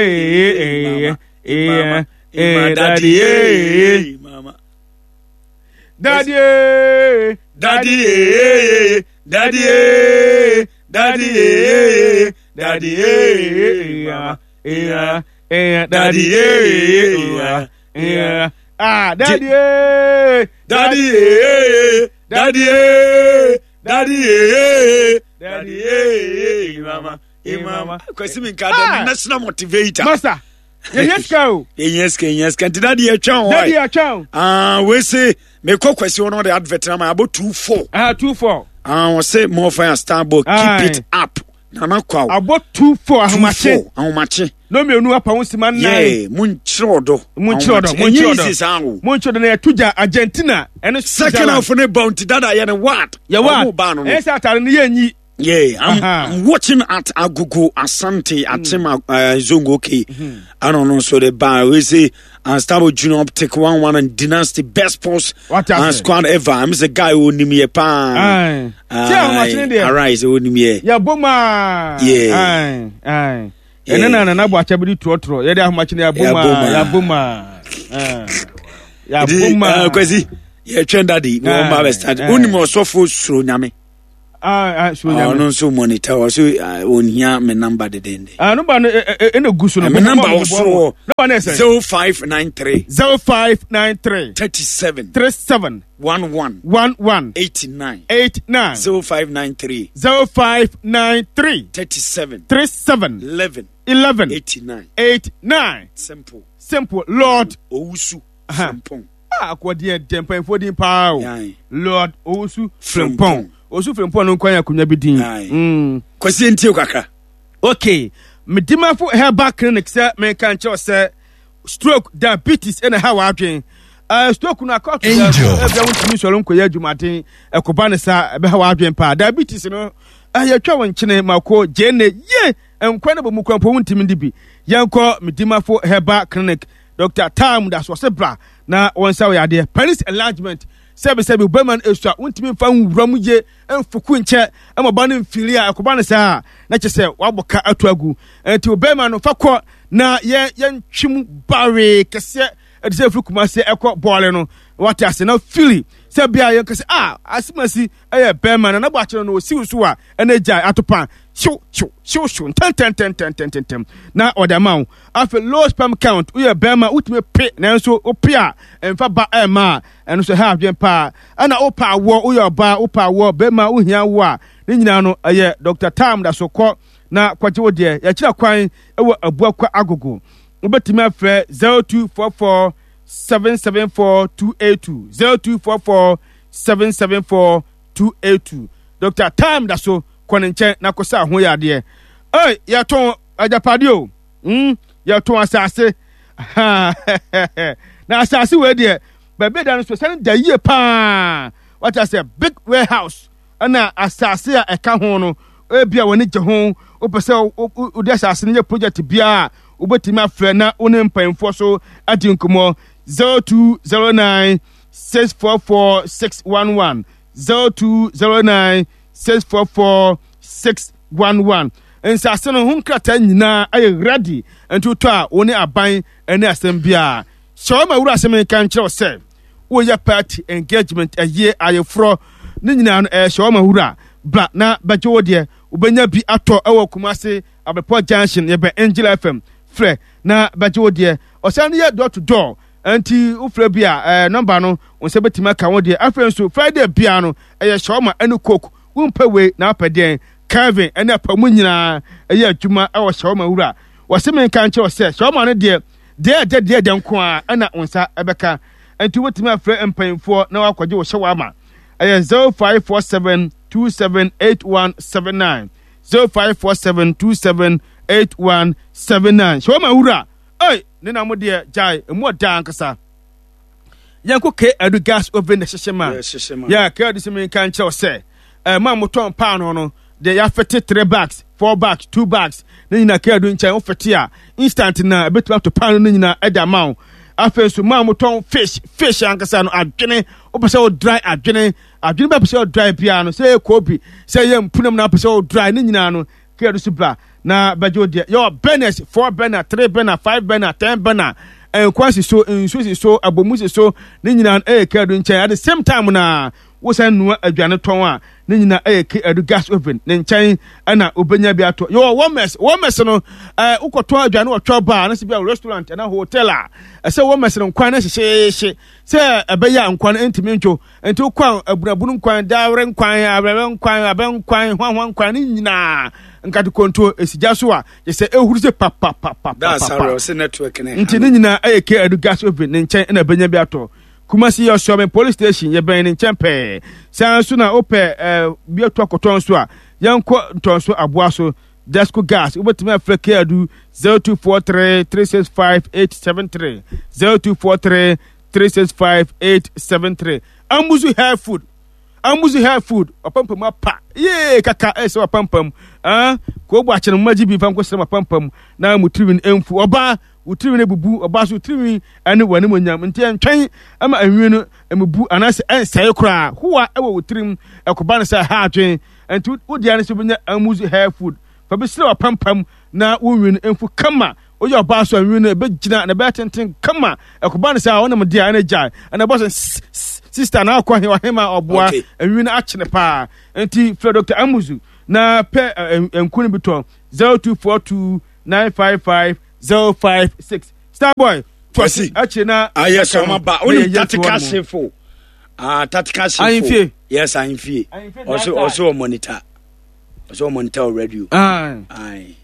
eh, eh, eh, daddy, eh, mama. Daddy, eh, Daddy, eh, daddy, eh, daddy, eh, daddy, eh, mama. eh, eh, Daddy, eh, eh, ah, daddy, eh, daddy, eh, daddy, eh, daddy, eh, daddy, eh, mama, eh, mama. Kwesi mi nka Ah. the national motivator. Master, yɛhia sika o. Yɛnyɛ sika, yɛnyɛ sika. Nti daddy yɛtwɛn hɔ. Daddy yɛtwɛn. Ah, we se mekɔ Kwesi hɔ no de advert na ma abɔ 2-4. Ah, 2-4. Ah, wɔse more fire starboy keep it up. Nana Kwaw. Abɔ 2-4 ahomakye. 2-4 ahomakye. Na mmienu apa ho sima nnan. Yeah, monkyerɛ ɔdɔ. Monkyerɛ ɔdɔ, monkyerɛ ɔdɔ. Monkyerɛ ɔdɔ na yɛto gya Argentina ɛne Second half ne ba nti dada yɛ ne ward. Yɛ ward. Ba no no. Ɛyɛ sɛ atare no yɛnyi. Yeah, I'm watching at Agogo Asante Atima Zongo. Okay, I don't know. So the bar we say Unstable Junior Optic 1-1 and Dynasty best sports and squad ever. I'm the guy who knew me pa. Arise, who knew me. Yeah, boma. Yeah, aye, aye. Ɛne na nana bɔ akyɛ bi di trɔtrɔ yɛde ahomakye no yɛabɔ mu a yɛabɔ mu a yɛabɔ mu a. Kwasi yɛtwɛn dadi na wɔn ba bɛ start. Wonim ɔsɔfo suro nyame. Ɔno nso monitor wɔ so ɔnhia me number dedende. Number no ɛna gu so no. Me number wɔ soro hɔ. Number no ɛsɛ. 0593. 0593. 37. 37. 11. 11. 89. 89. 0593. 0593. 37. 37. 11. 11. 89. 89. Simple. Simple. Lord. Owusu. Frimpong. Ah, akɔdeɛ dɛ mpanyinfoɔ din paa o. Lord Owusu Frimpong. Owusu Frimpong no nkwan akonnwa bi din. Kwasi ntie kakra. Okay. Medimafo Herbal Clinic sɛ menka nkyerɛ sɛ stroke, diabetes ɛna ha w'adwen. Stroke no akɔto dɛ ɛbɛ wontumi nsɔre nkɔyɛ adwumaden ɛkɔba ne saa ɛbɛha w'adwen paa. Diabetes no yɛtwa wo nkyene mako gyeene ye nkwa no bɔ mu kwan po wontumi ndi bi. Yɛnkɔ Medimafo Herbal Clinic. Dr. Tam da so ɔsɛ bra na wɔn nsa wɔ yadeɛ. Penis enlargement sɛbi sɛbi bɛrima no esua wontumi nfa nwura mu yie mfuku nkyɛ ɛma ɔba no mfiri a ɛkɔba no saa na kyɛ sɛ wabɔ ka ato agu nti bɛrima no fa kɔ na yɛn yɛntwi mu bawee kɛseɛ ɛde sɛ efiri Kumase ɛkɔ bɔɔle no wate ase na fili sɛ bia yɛn kɛse a asimasi ɛyɛ bɛrima no na bɔ akyerɛ no osiw so a ɛna gya atopa hyew hyew hyew hyew ntɛntɛntɛntɛntɛntɛm na ɔde ama wo. Afei low sperm count, woyɛ bɛrima wotumi pe nanso wope a ɛmfa ba ɛmma a, ɛno nso ɛha adwene paa. Ɛna wopɛ awoɔ, woyɛ ɔbaa wopɛ awoɔ, bɛrima wohia awoɔ a, ne nyinaa no ɛyɛ Dr. Tam da so kɔ na kɔgye wo deɛ. Yɛkyerɛ kwan wɔ Abuakwa Agogo. Wobɛtumi afrɛ 0244 774 282, 0244 774 282. Dr. Tam da so kɔ ne nkyɛn na kɔsa ho yadeɛ. Ei, yɛtɔn agyapadeɛ o. Yɛtɔn asase. Na asase wei deɛ, baabi da no so sɛne da yie paa. Wata sɛ big warehouse ɛna asase a ɛka ho no, ebi a wɔne gye ho, wopɛ sɛ wode asase no yɛ project biara a, wobɛtumi afrɛ na wo ne mpanyinfoɔ so adi nkɔmmɔ. 0209 644 611 0209 644 611. Nsase no ho nkrataa nyinaa ayɛ ready, nti wotɔ a wo ne aban ne asɛm biara. Hyɛ wɔn ma wura asɛm nka nkyerɛ wo sɛ woyɛ party engagement, ɛyie, ayeforɔ ne nyinaa no ɛyɛ hyɛ wɔn ma wura bra na bɛgye wo deɛ. Wobɛnya bi atɔ ɛwɔ Kumasi Abepɔ Junction, yɛbɛn Angel FM. Frɛ na bɛgye wo deɛ. Ɔsan yɛ door to door, nti wofrɛ bi a nɔmba no wo nsa bɛtumi aka wo deɛ. Afei nso Friday biara no ɛyɛ shawarma ɛne coke. Wompɛ wei na wopɛ deɛn? Kelvin ɛne apamu nyinaa ɛyɛ adwuma ɛwɔ shawarma wura. Wɔse menka nkyerɛ wo sɛ shawarma no deɛ deɛ ɛdɛ deɛ ɛdɛ nko ara ɛna wo nsa ɛbɛka. Nti wobɛtumi afrɛ mpanyinfoɔ na wakɔgye wo shawarma. Ɛyɛ 0547 278179 0547 278179. Shawarma wura, ei, ne na mo deɛ gyae, emu ɔda ankasa. Yɛnkɔ K Adu gas oven na hyehyɛ ma. Yɛ K Adu sɛ menka nkyerɛ wo sɛ ɛma motɔn paano no deɛ yɛafete 3 bags, 4 bags, 2 bags ne nyinaa K Adu nkyɛn wofete a instant na ɛbɛtumi ato paano no nyinaa ɛde ama wo. Afei nso maa motɔn fish, fish ankasa no adwene, wopɛ sɛ wo dry adwene, adwene bɛ pɛ sɛ wo dry biara no, sɛ ɛyɛ kobi, sɛ ɛyɛ mpunam na wopɛ sɛ wo dry ne nyinaa no. Kra do so bra na bɛgye wo deɛ. Yɛwɔ burners, 4 burner, 3 burner, 5 burner, 10 burner. Nkwan si so, nsuo si so, abomu si so, ne nyinaa no ɛyɛ Kra do nkyɛn. At the same time na wosan nua aduane tɔn a, ne nyinaa ɛyɛ Kra do gas oven ne nkyɛn ɛna wobɛnya bi atɔ. Yɛwɔ warmers, warmers no ɛɛ wokɔtɔ aduane wɔ twɛ bar anasɛ bi a restaurant anaa hotel a, ɛsɛ warmers no nkwan no hyehyeehye sɛ ɛbɛyɛ a nkwan no ntumi ntwo. Nti wokɔ a abunabunu nkwan, dawere nkwan, awerɛwerɛ nkwan, abɛ nkwan, hwanhwa nkwan ne nyinaa nkate konto esi gya so a kyɛ sɛ ehuru sɛ papapapapa. Nti ne nyinaa ɛyɛ K Adu gas oven ne nkyɛn ɛna ɛbɛnya bi atɔ. Kumasi yɛ Ɔsɔmi police station yɛbɛn ne nkyɛn pɛɛ. Saa nso na wopɛ ɛɛ bi atu akɔtɔn nso a yɛnkɔ ntɔnso aboa so Desco gas wobɛtumi afrɛ K Adu 0243 365 873 0243 365 873 Amuzu hair food Amuzu hair food wapampam apa yee kaka ɛsɛ wapampam ah koobu akyene mo magye bi fa nkɔsrɛ wapampam na mo tirinwi no mfu ɔbaa wo tirinwi no bubu ɔbaa so tirinwi ɛne w'anim onyam nti ɛntwɛn ɛma enwi no emubu anaasɛ ɛnsɛe koraa hoa ɛwɔ wo tirim ɛkɔba no sɛ ha adwen nti wo deɛ no sɛ wobɛnya Amuzu hair food fa bi srɛ wapampam na wo nwi no mfu kama Woyɛ ɔbaa so a nwi no ɛbɛgyina na ɛbɛyɛ tenten kama. Ɛkɔba no sɛ a ɔnam deɛ ɛna gyae. Ɛna ɛbɔ sɛ sista na akɔ he ɔhema ɔboa nwi no akyene paa. Nti frɛ Dr. Amuzu na pɛ nku no bi tɔ 0242 955 056. Starboy Kwasi akyire na ayɛ sɛ ɔma ba wonim tactical sefo ah tactical sefo ahemfie yes ahemfie ɔso ɔso ɔmonitor ɔso ɔmonitor radio aye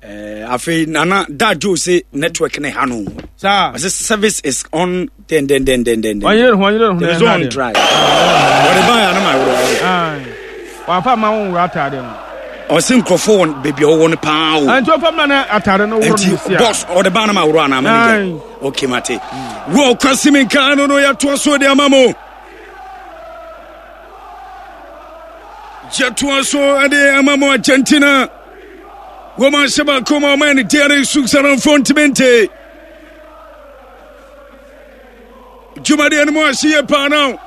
Eh, afei nana da joe se network ne ha no saa ɔsɛ service is on den den den den den ɔnyere ho ɔnyere ho na ɛna on dry ɔde ba ya no ma worɔ wafa ma wo nwura ataade no ɔsɛ nkurɔfoɔ wɔ baabi a ɔwɔ no paa o nti ɔfa ma no ataade no worɔ no si a boss ɔde ba no ma worɔ anaa manager okay mate wɔ kwasi mi nka no no yɛtoa so de ama mo yɛtoa so de ama mo Argentina Wɔn ahyɛ baako ma ɔman no deɛ no Switzerlandfoɔ ntumi nte. Dwumadeɛ no mu ahye yie paa no.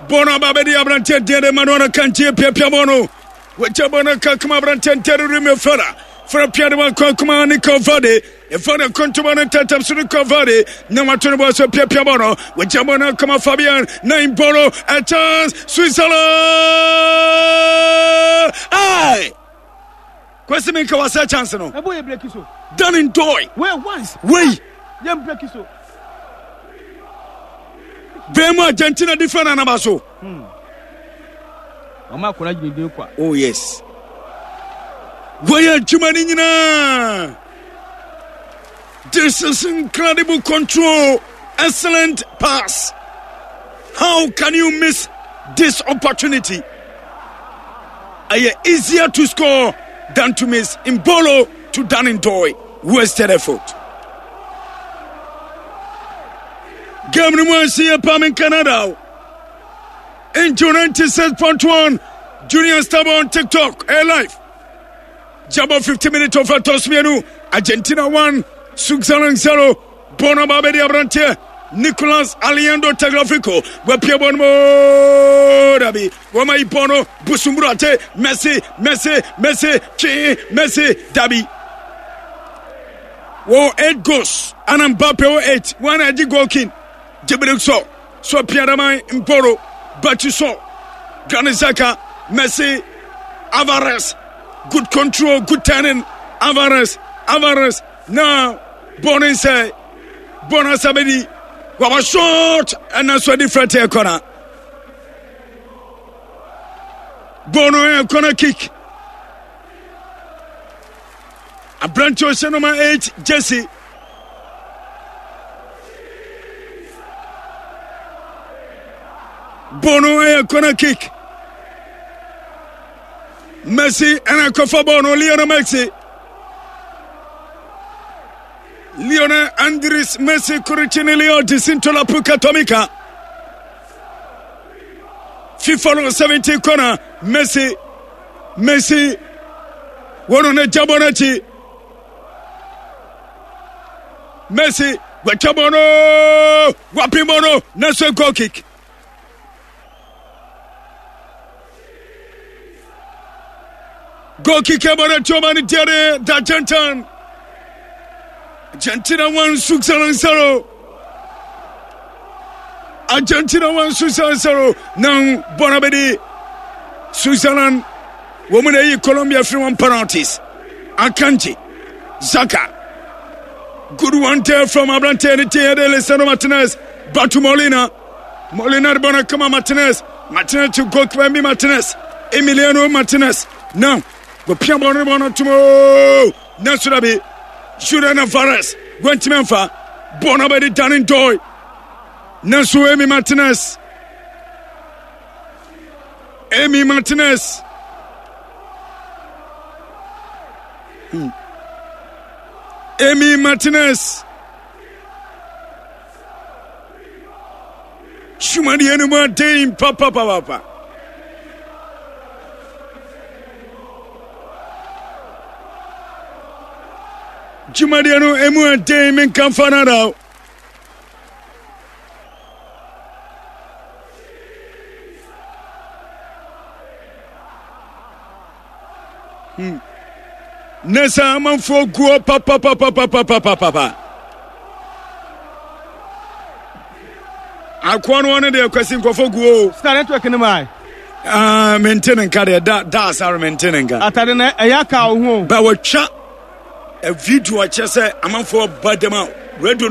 Bɔɔl no aba abɛdi aberanteɛ deɛ de Manuel Akanji apiapia bɔɔl no. Wɔgya bɔɔl no ka kuma aberanteɛ deɛ de Remy Fera. Fera pia de wakɔ akuma Nico Vade. Ɛfa ne nkontoma no ntɛntɛm so Nico Vade. Na wato ne bɔɔl so piapia bɔɔl no. Wɔgya bɔɔl no akoma Fabian. Nine bɔɔl no. A chance. Switzerland! Aye! Kwesi mi nka wasɛ chance no. Ɛbɔ yɛ breki so. Dan Ndoye. Wei once. Wei. Yɛ breki so. Bɛn mu Argentina defender naba so. Ɔmo akɔla gyina din kwa. Oh yes. Wɔyɛ adwuma no nyinaa. This is incredible control. Excellent pass. How can you miss this opportunity? Ɛyɛ easier to score than to miss. Mbolo to Dan Ndoye. Wasted effort. Game no mu ansi yɛ pam in Canada. Into 96.1 Junior Star on TikTok. Air life. Jabo 50 minutes of Tosmienu. Argentina 1, Switzerland 0. Bɔɔl no aba abɛdi aberanteɛ Nicolas Aliendo Tagliafico. Wapia bɔɔl no mu dabi. Wɔma yi bɔɔl no Busumburu ate Messi Messi Messi twe Messi dabi. Wɔ 8 goals ana Mbappe wɔ 8 wɔn a ɛgye goal king Djibril Sow so pia daman Mporo Batu Sow Granit Xhaka Messi Alvarez good control good turning Alvarez Alvarez na bɔɔl no nsɛ bɔɔl no asa bɛdi waba short ɛna so adi frɛte ɛkɔna bɔɔl no yɛ kɔna kick aberante ɔhyɛ nɔma 8 jesse bɔɔl no yɛ kɔna kick Messi ɛna kɔfa bɔɔl no Lionel Messi Lionel Andres Messi Kuricini Leo Jacinto La Puca Tomica FIFA no 70 corner Messi Messi wɔn no gya bɔ n'akyi Messi wɔatwa bɔ no wɔapem bɔ no nanso goal kick Goal kick ɛbɔ de to ma ne deɛ de Argentina. Argentina 1 Switzerland 0. Argentina 1 Switzerland 0. Now Bonabedi Switzerland wɔn mu na eyi Colombia firi wɔn penalties. Akanji Zaka good one there from aberanteɛ ne teɛ de Lisandro Martinez back to Molina. Molina de bɔ no kama Martinez. Martinez to goalkeeper Emi Martinez. Emiliano Martinez. Now wɔpia bɔ no bɔ no tom ooo. Nanso dabi, Julian Alvarez wantumi amfa bɔɔl no abɛde Danny Ndoye. Nanso Emi Martinez, Emi Martinez, Emi Martinez. Sumadeɛ no mu aden papapapapa. Dwumadeɛ no emu aden menka mfa no ada o. Hmm. Ne sɛ amanfoɔ guɔ papapapapapapapa. Akoa no ɔno deɛ kwasi nkurɔfoɔ guo. Star network no maa. Ah, mente ne nka deɛ da da asare mente ne nka. Atade na ɛyɛ aka wo ho. Ba wɔtwa video akyerɛ sɛ amanfoɔ ba dɛm a radio no.